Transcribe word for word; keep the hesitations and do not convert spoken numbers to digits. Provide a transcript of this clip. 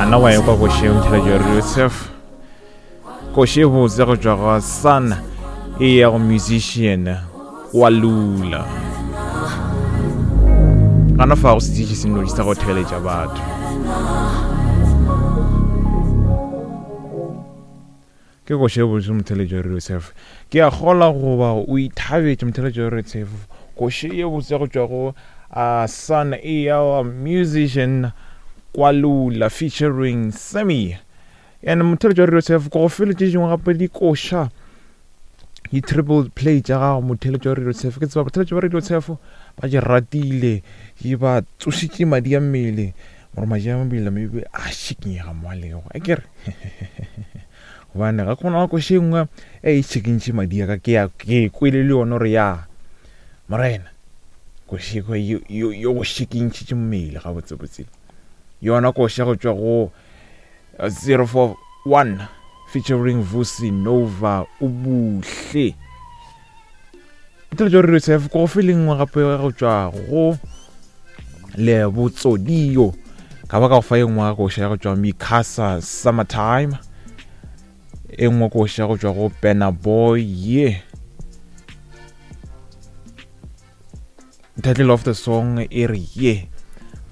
Nna wa ekwa koše motheletši wa Radio Surf. Koše botse go tšwa go Sun e ya go musician wa Lula. Gana fa go setiši se nnoši sa go theeletša batho. Ke koše botse motheletši wa Radio Surf. Ke a kgola goba o ithabetše motheletši wa Radio Surf. Koše ye botse go tšwa go uh, Sun e ya musician Kwalula featuring Sammy. And motheletši wa Radio Surf ko go fele tše dingwe gape dikoša di-triple play tša gago motheletši wa Radio Surf. Ke tseba motheletši wa Radio Surf ba di ratile, di ba tsošitše madi a mmele gore madi a mmele maybe a šikinyega mo a lego akere gobane ga gona koše e nngwe e e šikintše madi a ka ke ya ke kwele le yona gore ya morena koše yo go šikintšhitše mmele gabotsebotse. Yona koše go tšwa go zero four one featuring Vusi Nova Ubuhle. Motheletši wa Radio Surf ko go feleng gape go tšwa go Lebotsodio ka ba ka go fa e nngwe koša ya go tšwa Mikasa Summertime, e nngwe koša go tšwa go Burna Boy ye. Title of the song e re ye.